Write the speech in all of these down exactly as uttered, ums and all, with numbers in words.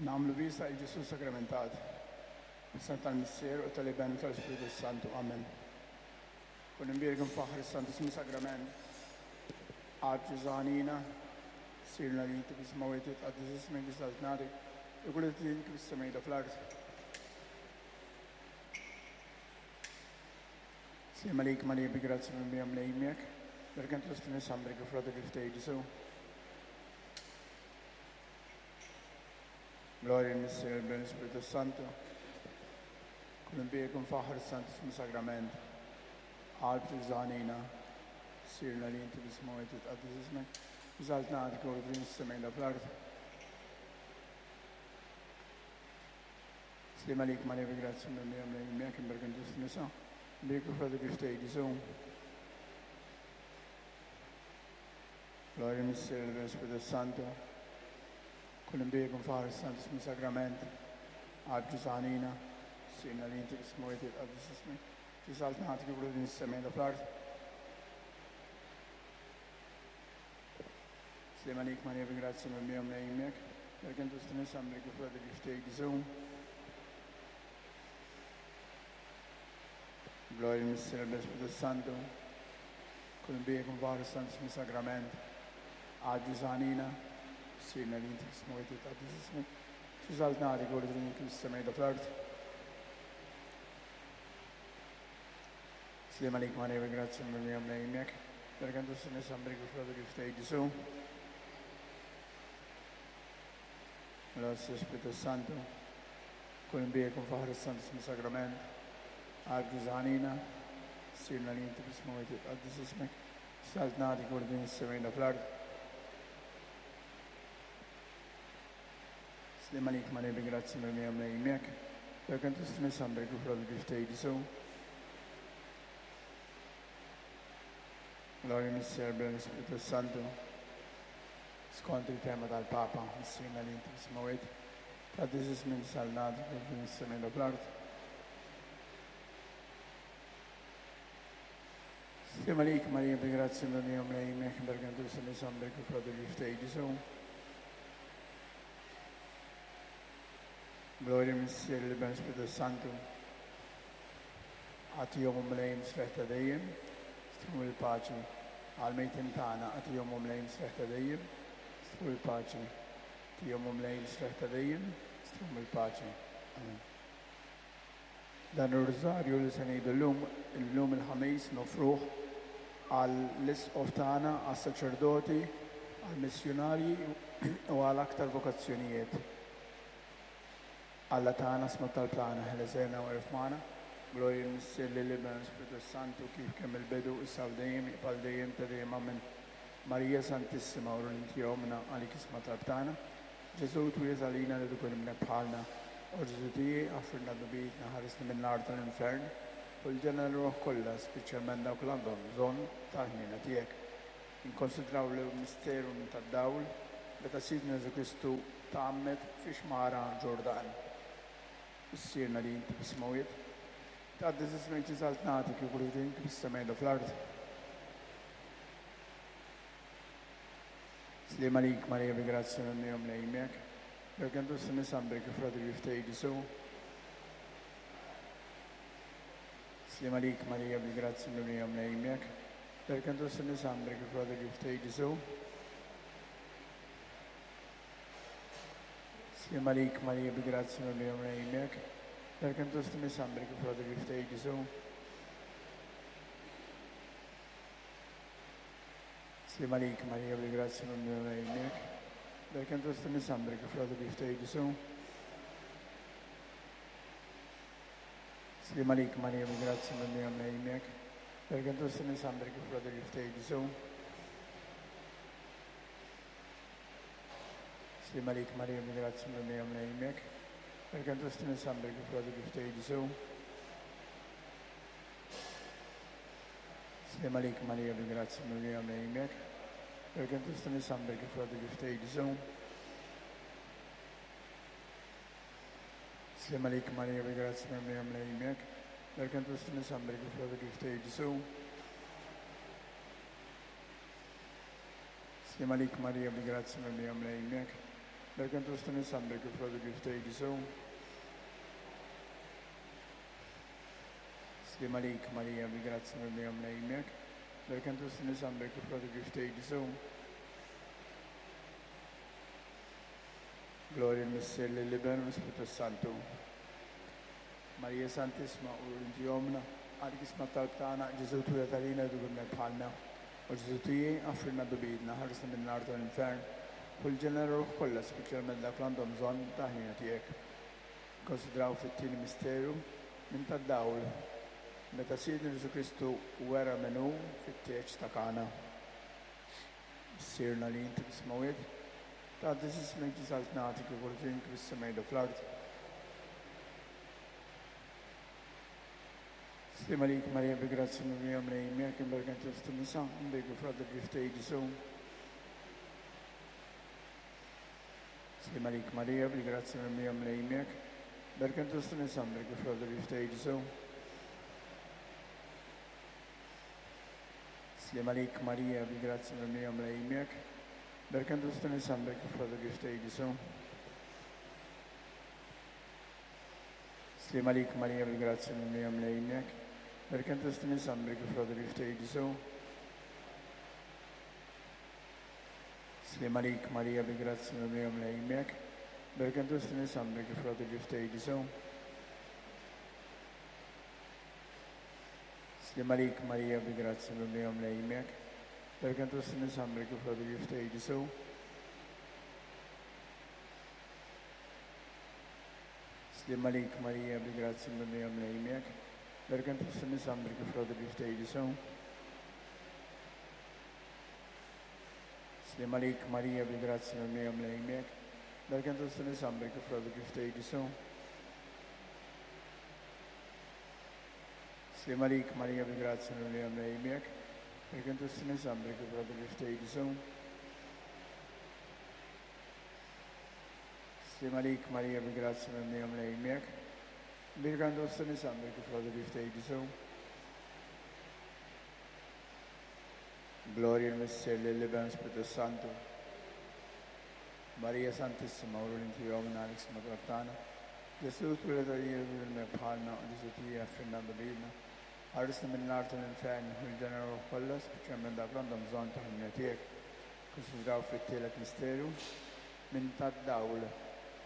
Nagħmlu vista il Ġesù sagramentat. F'isem tal-Missier u tal-Iben u tal-Ispiritu Santu. Amen. Kun imbierek mfaħħar is-Santissmu Sagrament. Qalb Ġesù ħanina, Missierna li inti fis-smewwiet titqaddes ismek saltnatek, ikun li kif fis-sema fl-art. Sliem għalik Marija bi grazzja mimlija Mulej miegħek, Imbierka int fost in-nisa mbierek il-frott ta' ġuf tiegħek Ġesù. Glorja lill-Missier, l-Iben, l-Ispiritu Santu. Kun imbierek u mfaħħar is-Santissmu Sagrament. Qalb Ġesù ħanina, Missierna li inti fis-smewwiet titqaddes ismek, saltnatek u din is-sema fl-art. Sliem għalik Marija bi grazzja mimlija Mulej miegħek, imbierka int fost in-nisa, mbierek il-frott ta' ġuf tiegħek Ġesù. Glorja lill-Missier, l-Iben, l-Ispiritu Santu. Kun imbierek u mfaħħar is-Santissmu Sagrament. Qalb Ġesù ħanina, Missierna li inti fis-smewwiet titqaddes ismek, saltnatek ikun din is-sema fl-art. Sliem għalik Marija bi grazzja mimlija Mulej miegħek, Imbierka int fost in-nisa mbierek il-frott ta' ġuf tiegħek Ġesù. Glorja lill-Missier, l-Iben, l-Ispiritu Santu. Kun imbierek u mfaħħar is-Santissmu Sagrament. Qalb Ġesù ħanina, Missierna li inti fis-smewwiet titqaddes ismek, saltnatek ikun din kif fis-sema fl-art. Sliem għalik Marija bi grazzja mimlija Mulej miegħek, Imbierka int fost in-nisa mbierek il-frott ta' ġuf tiegħek Ġesù. L-Ispiritu Santu. Kun imbierek u mfaħħar is-Santissmu Sagrament. Qalb Ġesù ħanina, Missierna li inti fis-smewwiet titqaddes ismek, saltnatek ikun din is-sema fl-art. Sliem għalik Marija bi grazzja mimlija Mulej miegħek, Imbierka int fost in-nisa mbierek il-frott ta' ġuf tiegħek Ġesù. Glorja lill-Missier, l-Iben, l-Ispiritu Santu. Skont il-tema tal-Papa, Missierna li inti fis-smewwiet, tqaddes ismek saltnatek ikun din is-sema fl-art. Sliem għalik Marija bi grazzja mimlija Mulej miegħek, imbierka int fost in-nisa mbierek il-frott ta' ġuf tiegħek Ġesù. Glorja lill-Missier, l-Iben, l-Ispiritu Santu. Agħtihom Mulej mistrieħ ta' dejjem, stru il-paċi. Għall-mejtin tagħna agħtihom Mulej mistrieħ ta' dejjem, stru il-paċi. Agħtihom Mulej mistrieħ ta' dejjem, stru il-paċi. Amen. Dan ir-rużarju li se ngħidu llum, illum il-Ħamis nofruh għall-isqof tagħna, għas-saċerdoti, għall-missjunarji u għal aktar vokazzjonijiet. Alla tagħna, isma' t-talb tagħna, ħeles u erf magħna. Glorja lill-Missier, lill-Iben, l-Ispiritu Santu, kif kien mill-bidu, issa u dejjem, jibqa' dejjem ta' dejjem. Amen. Marija Santissima, uru li inti ommna, għalik isma' talb tagħna. Ġesù twieled għalina li tkun ibnek bħalna. O Ġesù tiegħi, aħfrilna dnubietna, ħarisna min-nar tal-infern, u l-ġenna l-ruħ kollha, speċjalment dawk li għandhom bżonn tal-ħniena tiegħek. Inkonsidraw l-misteru tad-dawl meta Sidna Ġesù Kristu tgħammed fi xmara Ġordan. Missierna li inti fis-smewwiet, tqaddes ismek saltnatek ikun din kif fis-sema fl-art. Sliem għalik Marija bi grazzja mimlija Mulej miegħek, Imbierka int fost in-nisa mbierek il-frott ta' ġuf tiegħek Ġesù. Sliem għalik Marija bi grazzja mimlija Mulej miegħek, Imbierka int fost in-nisa mbierek il-frott ta' ġuf tiegħek Ġesù. Sliem għalik Marija bi grazzja mimlija Mulej miegħek, Imbierka int fost in-nisa mbierek il-frott ta' ġuf tiegħek Ġesù. Sliem għalik Marija bi grazzja mimlija Mulej miegħek, Imbierka int fost in-nisa mbierek il-frott ta' ġuf tiegħek Ġesù. Sliem għalik Marija bi grazzja mimlija Mulej miegħek, Imbierka int fost in-nisa mbierek il-frott ta' ġuf tiegħek Ġesù. Sliem għalik Marija bi grazzja mimlija Mulej miegħek, Imbierka int fost in-nisa mbierek il-frott ta' ġuf tiegħek Ġesù. Sliem għalik Marija bi grazzja mimlija Mulej miegħek, Imbierka int fost in-nisa mbierek il-frott ta' ġuf tiegħek Ġesù. Sliem għalik Marija bi grazzja mimlija Mulej miegħek, Imbierka int fost in-nisa mbierek il-frott ta' ġuf tiegħek Ġesù. Sliem għalik Marija bi grazzja mimlija Mulej miegħek, Berkent fost in-nisa mberkin frott il-ġuf tiegħek Ġesù. Sliem għalik Marija, bil-grazzja mimlija Mulej miegħek. Berkent fost in-nisa mberkin frott il-ġuf tiegħek Ġesù. Glorja lill-Missier, lill-Iben u l-Ispirtu Santu. Marija Santissima, u inti ommna, għalik isma' t-talb tagħna, Ġesù twieled għalina dubibna bħalna. U Ġesù tiegħi, għafrilna dubidna, ħarisna min-nar tal-infern, u l-ġenera ruħ kollha, speċjalment dak li għandhom bżonn ta' ħnina tiegħek. Konsidraw fit-tieni misteru minn tad-dawl, meta Sidna Ġesù Kristu wera min hu fit-tieġ ta' Kana. Missierna li inti fis-smewwiet, tqaddes ismek, tiġi saltnatek, ikun ridek fis-sema u fl-art. Sliem għalik Marija, bi grazzja mimlija Mulej miegħek, imberka inti fost in-nisa, imberkin frott il-ġuf tiegħek Ġesù. Sliem għalik Marija, bil-grazzja mimlija Mulej miegħek, imberka inti fost in-nisa, imberkin frott il-ġuf tiegħek Ġesù. Sliem għalik Marija, bil-grazzja mimlija Mulej miegħek, imberka inti fost in-nisa, imberkin frott il-ġuf tiegħek Ġesù. Sliem għalik Marija, bil-grazzja mimlija Mulej miegħek, imberka inti fost in-nisa, imberkin frott il-ġuf tiegħek Ġesù. Sliem għalik Marija, bil-grazzja mimlija Mulej miegħek, imberka inti fost in-nisa, imberkin frott il-ġuf tiegħek Ġesù. Sliem għalik Marija, bil-grazzja mimlija Mulej miegħek, imberka inti fost in-nisa, imberkin frott il-ġuf tiegħek Ġesù. Sliem għalik Marija, bil-grazzja mimlija Mulej miegħek, imberka inti fost in-nisa, imberkin frott il-ġuf tiegħek Ġesù. Sliem għalik Marija, bil-grazzja mimlija Mulej miegħek, imberka inti fost in-nisa, imberkin frott il-ġuf tiegħek Ġesù. Sliem għalik Marija, bil-grazzja mimlija Mulej miegħek, imberka inti fost in-nisa, imberkin frott il-ġuf tiegħek Ġesù. Sliem għalik Marija, bil-grazzja mimlija Mulej miegħek, imberka inti fost in-nisa, imberkin frott il-ġuf tiegħek Ġesù. Glorja lill-Missier, lill-Iben, Spiritu Santu. Marija Santissima, u inti ommna, għalik isma' t-talb tagħna. Ġesù twieled għalina bħalna, u Ġesù tiegħi għafrilna dubidna. Ħarisna min-nar tal-infern, u l-ġenera ruħ kollha, speċjalment dak li għandhom bżonn ta' ħnina tiegħek. Konsidraw fit-tielet misteru minn tad-dawl,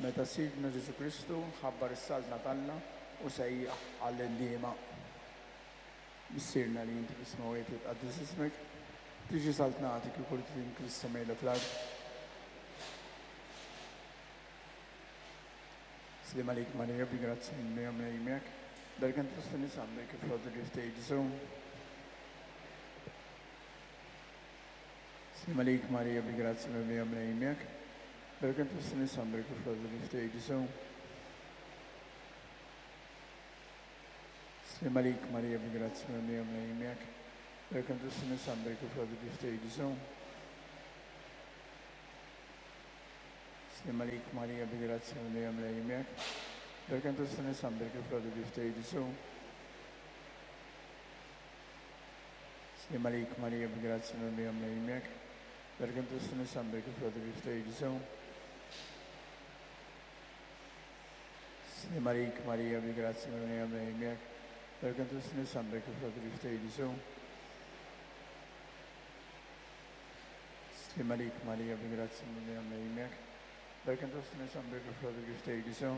meta Sidna Ġesù Kristu ħabbar is-saltna t'Alla u sejjaħ għall-indiema. Missierna li inti fis-smewwiet, jitqaddes ismek, tiġi saltnatek, ikun ridek fis-sema u fl-art. Sliem għalik Marija, bil-grazzja mimlija Mulej miegħek, imberka inti fost in-nisa, imberkin frott il-ġuf tiegħek Ġesù. Sliem għalik Marija, bil-grazzja mimlija Mulej miegħek, imberka inti fost in-nisa, imberkin frott il-ġuf tiegħek Ġesù. Sliem għalik Marija, bil-grazzja mimlija Mulej miegħek, imberka inti fost in-nisa, imberkin frott il-ġuf tiegħek Ġesù. Sliem għalik Marija, bil-grazzja mimlija Mulej miegħek, imberka inti fost in-nisa, imberkin frott il-ġuf tiegħek Ġesù. Sliem għalik Marija, bil-grazzja mimlija Mulej miegħek, imberka inti fost in-nisa, imberkin frott il-ġuf tiegħek Ġesù. Sliem għalik Marija, bil-grazzja mimlija Mulej miegħek, imberka inti fost in-nisa, imberkin frott il-ġuf tiegħek Ġesù. Sliem għalik Marija, bil-grazzja mimlija Mulej miegħek, imberka inti fost in-nisa, imberkin frott il-ġuf tiegħek Ġesù.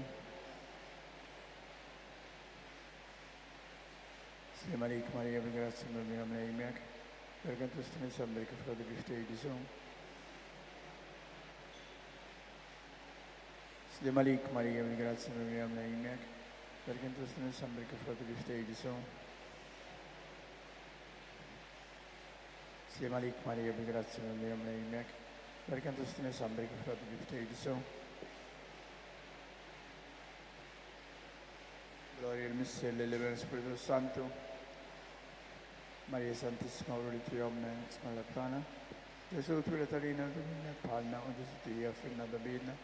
Sliem għalik Marija, bil-grazzja mimlija Mulej miegħek, imberka inti fost in-nisa, imberkin frott il-ġuf tiegħek Ġesù. Sliem għalik Marija, bil-grazzja mimlija Mulej miegħek, imberka inti fost in-nisa, imberkin frott il-ġuf tiegħek Ġesù. Sliem għalik Marija, bil-grazzja mimlija Mulej miegħek, imberka inti fost in-nisa, imberkin frott il-ġuf tiegħek Ġesù. Glorja lill-Missier, lill-Iben, Spiritu Santu. Marija Santissima, u li ommna, isma' t-talb tagħna. Ġesù twieled għalina dubidna bħalna, u Ġesù tiegħi għafrilna dubidna.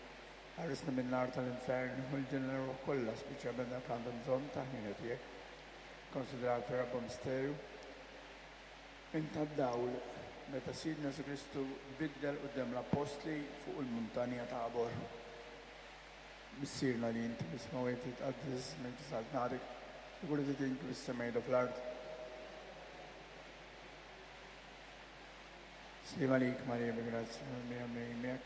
Ħarisna min-nar tal-infern, u l-ġenera ruħ kollha, speċjalment dak li għandhom bżonn ta' ħnina tiegħek. Konsidraw fir-raba' misteru minn tad-dawl, meta Sidna Ġesù Kristu biddel quddiem l-Appostli fuq il-muntanja Tabor. Missierna li inti fis-smewwiet titqaddes ismek saltnatek, ikun ridek fis-sema fl-art. Sliem għalik Marija bi grazzja mimlija Mulej miegħek.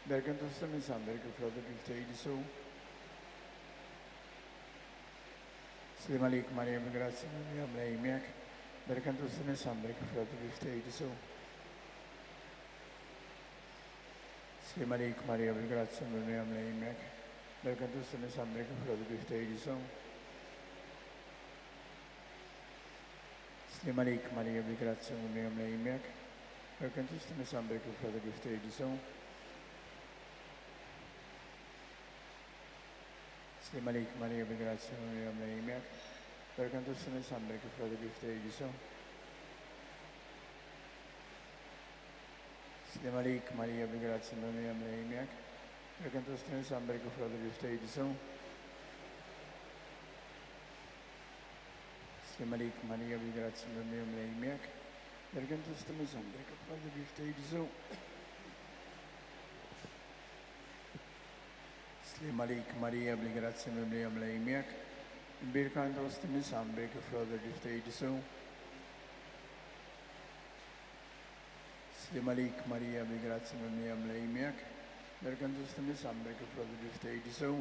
Imberka int fost in-nisa mberek il-frott tal-ġuf Ġesù. Sliem għalik Marija bi grazzja mimlija Mulej miegħek. Imberka int fost in-nisa mberek il-frott tal-ġuf Ġesù. Sliem għalik Marija bil-grazzja mimlija Mulej miegħek. Imberka int fost in-nisa mberek il-frott tal-ġuf Ġesù. Sliem għalik Marija bil-grazzja mimlija Mulej miegħek. Imberka int fost in-nisa mberek il-frott tal-ġuf Ġesù. Sliem għalik Marija bil-grazzja mimlija Mulej miegħek. Imberka int fost in-nisa mberek il-frott tal-ġuf Ġesù. Sliem għalik Marija bil-grazzja mimlija Mulej miegħek. Imberka int fost in-nisa mberek il-frott tal-ġuf Ġesù. Sliem għalik Marija bil-grazzja mimlija Mulej miegħek. Imberka int fost in-nisa mberek il-frott tal-ġuf Ġesù. Sliem għalik Marija bil-grazzja mimlija Mulej miegħek. Imberka int fost in-nisa mberek il-frott tal-ġuf Ġesù. Sliem għalik Marija bil-grazzja mimlija Mulej miegħek. Imberka int fost in-nisa mberek il-frott tal-ġuf Ġesù.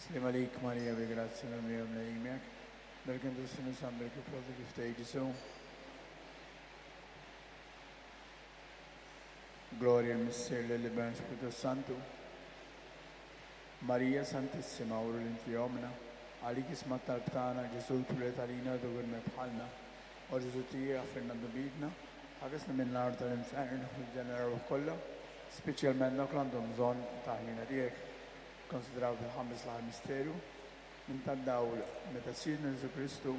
Sliem għalik Marija bil-grazzja mimlija Mulej miegħek. Imberka int fost in-nisa mberek il-frott tal-ġuf Ġesù. Gloria al Missier lill-Iben Spiritu Santu. Marija Santissima, uru li inti ommna, għalik isma' t-talb tagħna, Ġesù twieled għalina u dogurna bħalna. O Ġesù tiegħi aħfirna dnubietna, ħarisna minn nar tal-infern u l-ġeneraw kollha, speċjalment dawk li għandhom bżonn ta' ħniena tiegħek. Konsidraw fil-ħames l-aħħar misteru minn tad-dawl meta Sidna Ġesù Kristu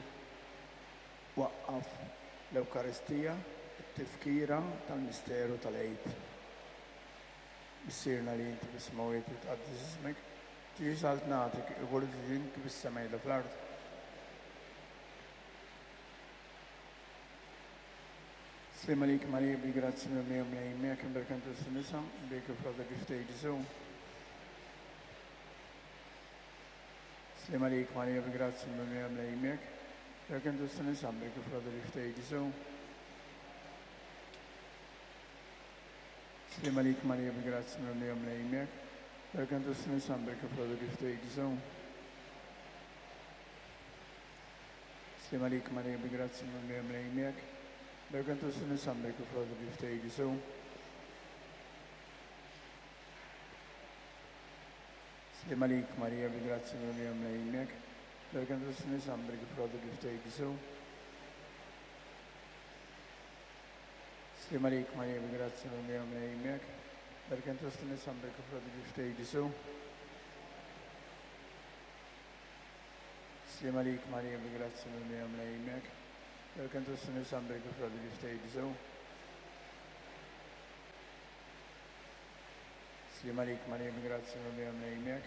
waqqaf l-Ewkaristija, it-tifkira tal-misteru tal-Għid. Missierna li inti fis-smewwiet titqaddes ismek, tiġi saltnatek, ikun ridek fis-sema fl-art. Sliem għalik Marija bil-grazzja mimlija Mulej miegħek, imberka int fost in-nisa, imberek il-frott tal-ġuf Ġesù. Sliem għalik Marija bil-grazzja mimlija Mulej miegħek, imberka int fost in-nisa, imberek il-frott tal-ġuf Ġesù. Sliem għalik Marija bil-grazzja mimlija Mulej miegħek, imberka int fost in-nisa, imberek il-frott tal-ġuf Ġesù. Sliem għalik Marija bil-grazzja mimlija Mulej miegħek, imberka int fost in-nisa, imberek il-frott tal-ġuf Ġesù. Sliem għalik Marija bil-grazzja mimlija Mulej miegħek, imberka int fost in-nisa, imberek il-frott tal-ġuf Ġesù. Sliem għalik Marija bil-grazzja mimlija Mulej miegħek, imberka int fost in-nisa, imberek il-frott tal-ġuf Ġesù. Sliem għalik Marija bil-grazzja mimlija Mulej miegħek, imberka int fost in-nisa, imberek il-frott tal-ġuf Ġesù. Sliem għalik Marija bil-grazzja mimlija Mulej miegħek,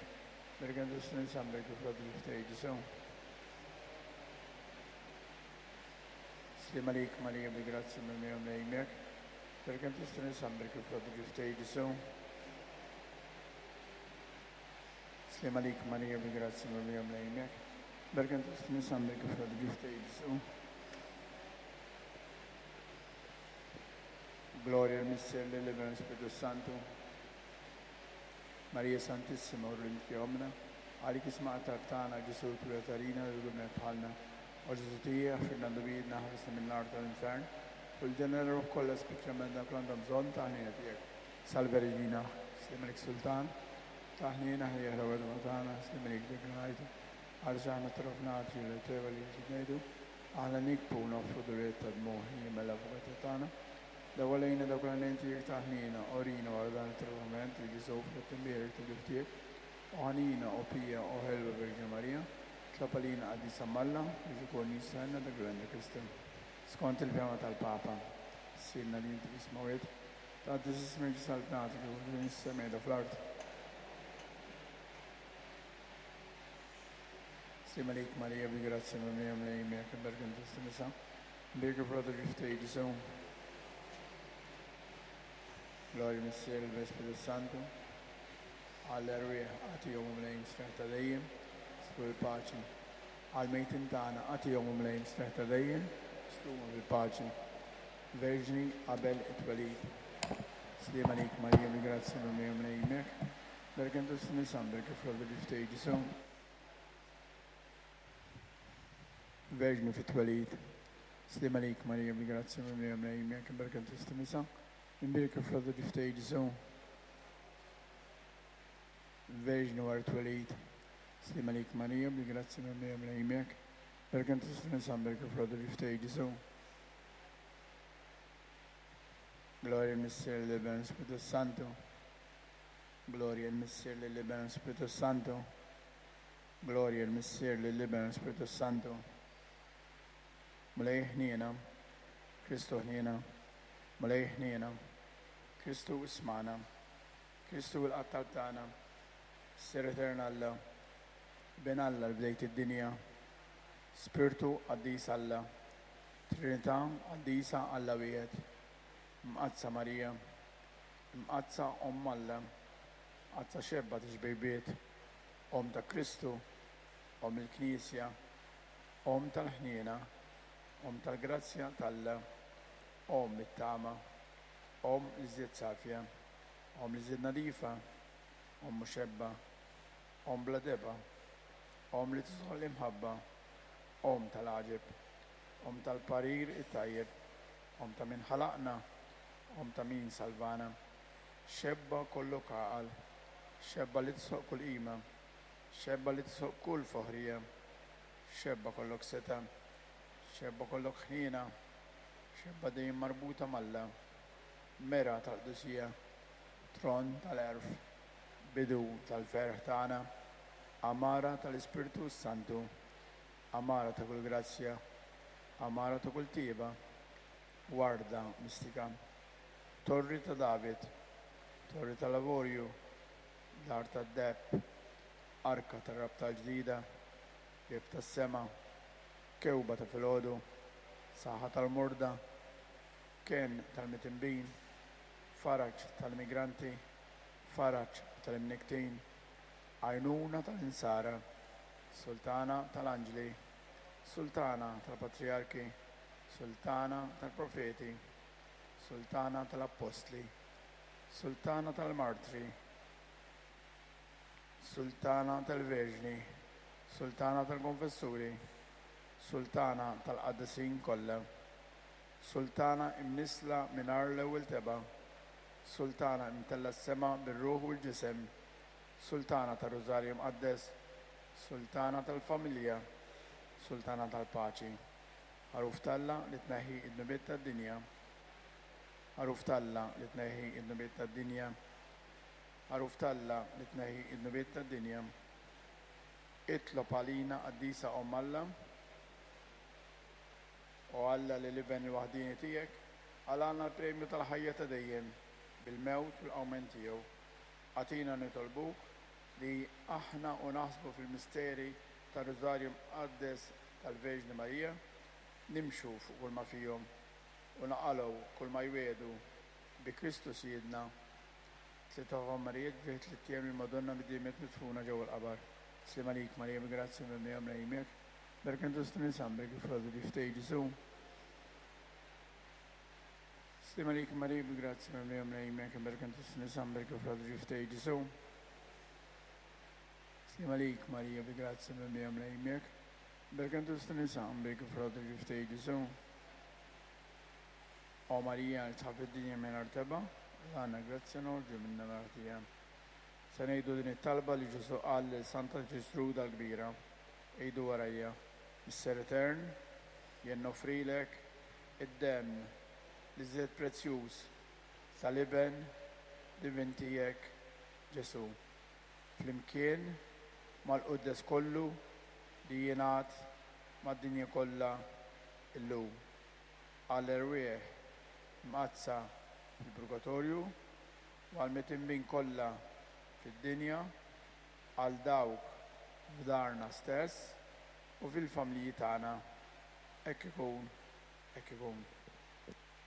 imberka int fost in-nisa, imberek il-frott tal-ġuf Ġesù. Sliem għalik Marija bil-grazzja mimlija Mulej miegħek, imberka int fost in-nisa, imberek il-frott tal-ġuf Ġesù. Sliem għalik Marija bil-grazzja mimlija Mulej miegħek, imberka int fost in-nisa, imberek il-frott tal-ġuf Ġesù. Gloria al Missier lill-Iben u Spiritu Santu. Marija Santissima, uru li inti ommna, għalik isma' t-talb tagħna, Ġesù twieled għalina u dogurna bħalna. O Ġesù tiegħi, aħfirna dnubietna, ħarisna minn nar tal-infern, u l-ġeneraw kollha speċjalment dawk li għandhom bżonn ta' ħniena tiegħek. Salve Regina, sliem għalik Sultan, ta' ħniena ħajja ħlawa tagħna, sliem għalik dik ħajtu. Għaliex aħna trofnati li teva li ngħidu, aħna nikbu noffru duriet ta' dmuħ mela avukata tagħna. Daw għalejna dawk l-għajnejn tiegħek ta' ħniena, orina wara dan it-trovament li Ġesù frott imbierek ta' ġuf tiegħek, o ħanina, o pija, o ħelwa Verġni Marija, tlob għalina qaddisa m'Alla biex ikun jistenna dak li għandek Kristu. Skont il-fehma tal-Papa, Missierna li inti fis-smewwiet, tqaddes ismek saltnatek u fis-sema fl-art. Slim għalik Marija, bil-grazzja mimlija Mulej miegħek, imberka int fost in-nisa, imberka l-frott tal-ġuf tiegħek Ġesù. Glorja Missier, l-Ispirtu Santu, għall-erwieħ agħtihom Mulej mistrieħ ta' dejjem, stru l-paċi. Għall-mejtin tagħna agħtihom Mulej mistrieħ ta' dejjem, stru bil-paċi. Verġni qabel it-twelid. Slim għalik Marija, bil-grazzja mimlija Mulej miegħek, imberka int fost in-nisa, imberka l-frott tal-ġuf tiegħek Ġesù. Verġni fit-twelid. Slim għalik Marija, bil-grazzja mimlija Mulej miegħek, imberka int fost in-nisa, imberka l-frott tal-ġuf tiegħek Ġesù. Verġni wara t-twelid. Slim għalik Marija, bil-grazzja mimlija Mulej miegħek, imberka int fost in-nisa, imberka l-frott tal-ġuf tiegħek Ġesù. Glorja l-Missier, l-Iben, l-Ispirtu Santu. Glorja l-Missier, l-Iben, l-Ispirtu Santu. Glorja l-Missier, l-Iben, l-Ispirtu Santu. Mulej ħniena, Kristu ħniena, Mulej ħniena, Kristu ismagħna, Kristu il-qattal tagħna, Missier Etern Alla, Ben Alla l-bdejt id-dinja, Spirtu Qaddis Alla, Trinità Qaddisa Alla wieħed, Mqaddsa Marija, Mqaddsa Omm Alla, Mqaddsa xebba tixbejbiet, Omm ta' Kristu, Omm il-Knisja, Omm tal-ħniena, Omm tal-grazzja t'Alla, Omm it-tama, Omm l-iżjed safja, Omm l-iżjed nadifa, Omm muxebba, Omm bla deba, Omm li tisħol l-imħabba, Omm tal-għaġeb, Omm tal-parir it-tajjeb, Omm ta' min ħalaqna, Omm ta' min salvana, xebba kollok għaqal, xebba li tisħoq kull qima, xebba li tisħoq kull foħrija, xebba kollok seta, xebba kollok ħniena, xebba dejjem marbuta m'Alla, mera tal-qdusija, tron tal-għerf, bidu tal-ferħ tagħna, għamara tal-Ispirtu Santu, għamara ta' kull grazzja, għamara ta' kull tieba, warda mistika, torri ta' David, torri tal-avorju, dar tad-deheb, arka tar-rabta l-ġdida, bieb tas-sema, kewba ta' filgħodu, saħħa tal-morda, ken tal-mitinbin, faraġ tal-immigranti, faraġ tal-imniktin, għajnuna tal-insara, sultana tal-anġli, sultana tal-patriarki, sultana tal-profeti, sultana tal-appostli, sultana tal-martri, sultana tal-verġni, sultana tal-konfessuri, sultana tal-qaddisin kollha, sultana imnisla mingħajr l-ewwel tebgħa, sultana imtella s-sema bir-ruħ u l-ġisem, sultana tar-Rużarju Mqaddes, sultana tal-familja, sultana tal-paċi. Ħaruf t'Alla li tneħħi id-dnubiet tad-dinja. Ħaruf t'Alla li tneħħi id-dnubiet tad-dinja. Ħaruf t'Alla li tneħħi id-dnubiet tad-dinja. Itlob għalina qaddisa Omm Alla. O Alla li l-Iben il-waħdini tiegħek għalana l-premju tal-ħajja ta' dejjem bil-mewt u l-qawmien tiegħu. Agħtina nitolbuk li aħna u naħsbu fil-misteri tar-Rużarju Mqaddes tal-Verġni Marija, nimxu fuq kull ma fihom u naqalgħu kull ma jwiegħdu bi Kristu Sidna. Tliet aħmarijiet fih tliet ijiem il-Madonna bid-dimiet midfuna ġewwa l-qabar. Slim għalik Marija, bi grazzja mimlija Mulej miegħek. Imberka int fost in-nisa, imberek il-frott tal-ġuf tiegħek Ġesù. Slim għalik Marija, bi grazzja mimlija Mulej miegħek. Imberka int fost in-nisa, imberek il-frott tal-ġuf tiegħek Ġesù. Slim għalik Marija, bi grazzja mimlija Mulej miegħek. Imberka int fost in-nisa, imberek il-frott tal-ġuf tiegħek Ġesù. O Marija, li tħaff id-dinja mingħajr tebgħa, għandna grazzja noħorġu minna martija. Se ngħidu din it-talba li Ġesù qal lil Santa Ġestruda l-Kbira. Għidu warajja. Missier Etern, jien noffrilek id-demm l-iżjed prezzjuż tal-Iben divin tiegħek Ġesù. Flimkien mal-quddes kollu li jingħad mad-dinja kollha illum. Għall-erwieħ mqaddsa fil-purgatorju u għall-mitinbin kollha fid-dinja, għal dawk f'darna stess u fil-familji tagħna. Hekk ikun, hekk ikun.